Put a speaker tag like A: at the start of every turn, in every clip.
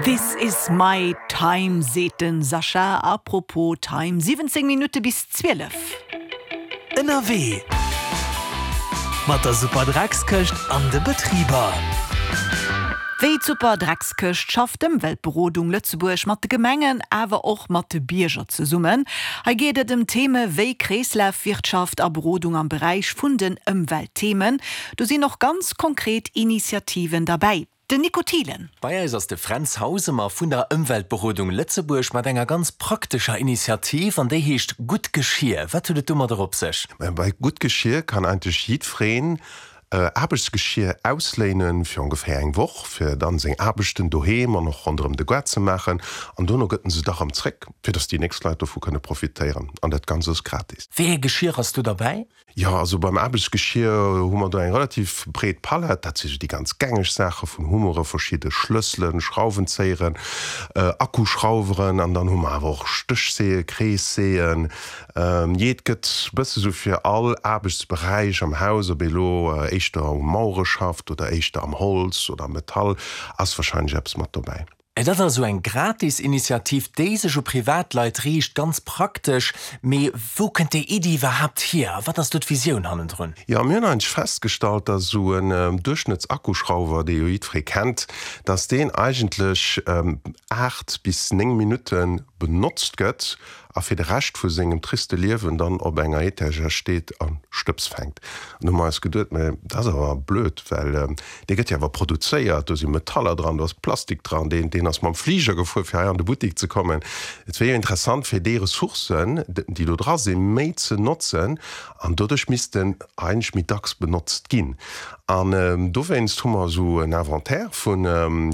A: This is my time, seet den Sascha. Apropos Time, 17 Minutte bis 12.
B: Ënnerwee mat der Superdreckskëscht an de Betriber.
A: Wéi d'Superdreckskëscht schafft d'Ëmweltberodung Lëtzebuerg mat de Gemengen, awer och mat de Bierger zesummen. Hei geet et ëm Theme wéi Kreeslafwirtschaft a Berodung am Beräich vun den Ëmweltthemen. Do sinn och ganz konkret Initiativen derbäi. Den Nico Thielen.
C: Bei eis ass de Fränz Hausemer vun der Ëmweltberodung Lëtzebuerg mat enger ganz praktescher Initiativ an déi heescht Gutt Geschir. Wat huet et domadder op sech?
D: Bei Gutt Geschir kann eigentlech jiddwereen Aarbechtsgeschir ausléinen fir ongeféier eng Woch, fir dann seng Aarbechten doheem an och ronderëm de Gaart ze maachen. An dono gëtt en se da rëm zréck, fir dass déi nächst Leit dovu kënne profitéieren. An dat Ganzt ass gratis.
C: Wéi ee Geschir ass do derbäi?
D: Jo, also beim Aarbechtsgeschir hu mer do eng relativ breet Palett. Dat si sou déi ganz gängeg Saache vun Hummere, verschidde Schlësselen, Schrauwenzéieren, Akkuschrauweren an dann hu mer awer och Stéchseeë, Kreesseeën. Jee, et gëtt bësse sou fir all Aarbechtsberäich am Haus, ob ee lo éischter u Mauere schafft oder éischter am Holz oder am Metall, ass warscheinlech eppes mat dobäi.
C: Et ass also eng gratis Initiativ, déi sech u Privatleit riicht. Ganz praktesch. Mee wou kënnt déi Iddi iwwerhaapt hier a wat ass do d'Visioun hannendrun?
D: Jo, mir hunn eigentlech festgestallt, dass esou en Duerchschnëttsakkuschrauwer, dee jo jiddweree kennt, dass deen eigentlech 8 bis 9 Minutte benotzt gëtt a fir de Rescht vu sengem triste Liewen dann op enger Etagère steet a Stëbs fänkt. An du hu mer eis geduet, mä dat ass awer blöd, well dee gëtt jo awer produzéiert, do si Metaller dran, do ass Plastik dran, deen, deen ass mam Fliger gefuer, fir hei an de Buttik ze kommen. Et wier jo interessant, fir déi Ressourcen, déi do dra sinn, méi ze notzen an doduerch misst en eigentlech méi dacks benotzt ginn. An dowéinst hu mer esou en Inventaire vu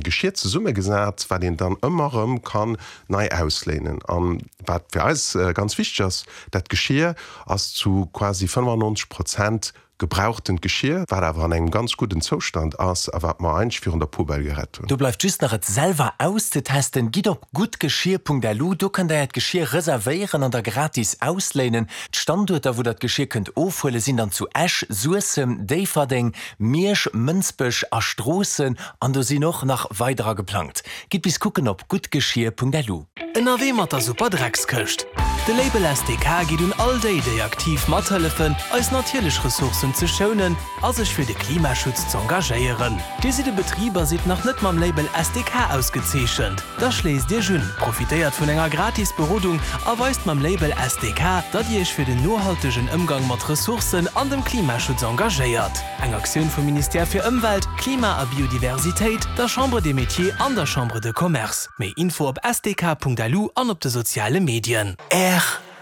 D: Geschir zesummegesat, wat een dann ëmmer erëm kann nei ausléinen. An wat fir eis ganz wichteg ass, dat Geschir ass zu quasi 95 Prozent gebrauchtent Geschir, wat awer an engem ganz gudden Zoustand ass a wat mer eigentlech virun der Poubelle gerett hunn.
C: Do bleift just nach et selwer auszetesten. Gitt op guttgeschir.lu, do kënnt der äert Geschir reservéieren an da gratis ausléinen. D'Standuerter wou der d'Geschir kënnt ofhuelen sinn dann zu Esch, Suessem, Déifferdeng, Miersch, Mënsbech a Stroossen an do sinn och nach weiderer geplangt. Gitt bis kucken op guttgeschir.lu.
B: Ënnerwee mat der Super Dreckskëscht. De Label SDK geet un all déi, déi aktiv mathëllefen, eis natierlech Ressourcen ze schounen a sech fir de Klimaschutz z'engagéieren. Dir sidd e Betrib a sidd nach net mam Label SDK ausgezeechent? Da schléisst Iech un, profitéiert vun enger gratis Berodung a weist mam Label SDK, datt Dir Iech fir den nohaltegen Ëmgang mat Ressourcen an dem Klimaschutz engagéiert. Eng Aktioun vum Ministère fir Ëmwelt, Klima a Biodiversitéit, der Chambre des Métiers an der Chambre de Commerce. Méi Info op sdk.lu an op de soziale Medien.
C: Rtl.